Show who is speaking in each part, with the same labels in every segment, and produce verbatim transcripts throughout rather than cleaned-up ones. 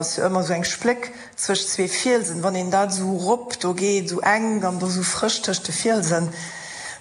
Speaker 1: Ass jo ëmmer sou eng Spléck zwëscht zwee Fielsen, wann een dat esou rop do geet, esou enk an do sou frësch tëscht de Fielsen,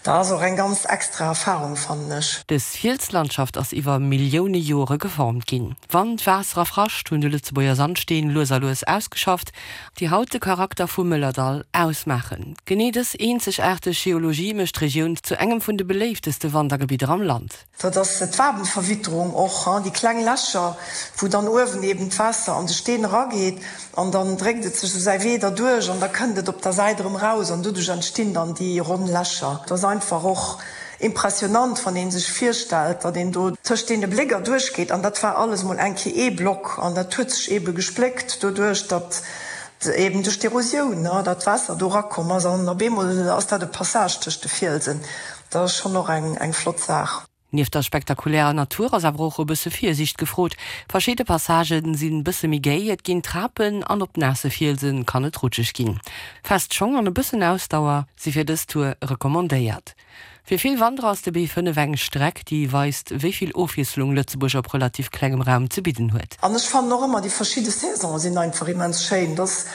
Speaker 1: dat ass och eng ganz extra Erfahrung, fannen ech.
Speaker 2: Dës Fielslandschaft ass iwwer Millioune Jore geformt ginn. Wand, Waasser a Frascht hunn de Lëtzebuerger Sandsteen lues a lues ausgeschafft, déi haut de Charakter vum Mëllerdall ausmaachen. Genee dës eenzegaarteg Geologie mécht d'Regioun zu engem vun de beléifteste Wandergebidder am Land.
Speaker 1: Dat ass d'Wabenverwitterung och, déi kleng Lächer, wou dann uewen eben d'Waasser an de Steen erageet an dann dréckt et sech esou säi Wee derduerch an da kënnt et op der Säit erëm raus an doduerch entstinn dann déi ronn Lächer. Et ass einfach och impressionant, wann ee sech virstellt, datt een do tëscht deene Bléck erduerch geet an dat war alles mol eng Kéier ee Block an dat huet sech ebe gespléckt doduerch, datt eben duerch d'Erosioun, datt d'Waasser do erakomm ass an op eemol ass dat e Passage tëscht de Fielsen. Dat ass schonn och eng flott Saach.
Speaker 2: Nieft der spektakulärer Natur ass awer och e bësse Virsiicht gefrot. Verschidde Passagë sinn bësse méi géi, et ginn Trapen an op naasse Fielse kann et rutscheg ginn. Fest Schong an e bëssen Ausdauer si fir dës Tour recommandéiert. Fir vill Wanderer ass de B fënnef eng Streck, déi weist, wéi vill Ofwiesslung Lëtzebuerg op relativ klengem Raum ze bidden huet.
Speaker 1: An ech fannen och ëmmer déi verschidde Saisonen sinn einfach immens schéin. Et ass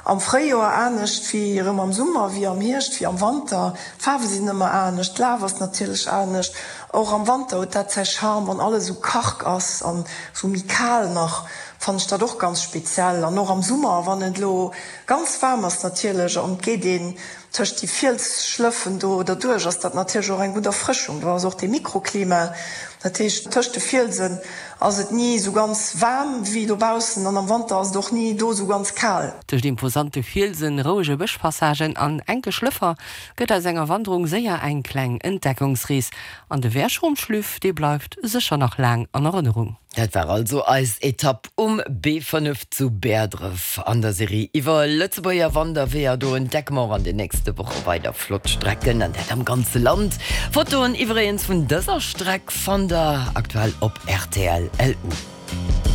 Speaker 1: am Fréijoer anescht wéi erëm am Summer, wéi am Hierscht, wéi am Wanter. D'Faarwe sinn ëmmer anescht, d'Laf ass natierlech anescht. Och am Wanter huet dat säi Charme, wann alles esou karg ass an esou méi kal nach, fannen ech dat och ganz speziell. An och am Summer, wann et elo ganz waarm ass natierlech an et geet een tëscht déi Fielsschlëffen do derduerch, ass dat natierlech och eng gutt Erfrëschung. Do ass och dee Mikroklima, dat heescht tëscht de Fielsen ass et ni esou ganz waarm wéi dobaussen an am Wanter ass et och ni do esou ganz kal.
Speaker 2: Tëscht imposante Fielsen, rouege Bëschpassagen an enke Schlëffer gëtt aus enger Wanderung séier eng kleng Entdeckungsrees. An de Wäschrumschlüff, dee bleift sécher nach laang an Erënnerung.
Speaker 3: Dat war also eis Etapp um B fënnef zu Bäerdref an der Serie iwwer Lëtzebuerger Wanderweeër. Do entdecke mer och an den nächste Woche weider flott Strecken an dat am ganze Land. Fotoen iwwregens vun dëser Streck fannt der aktuell op rtl. Lu.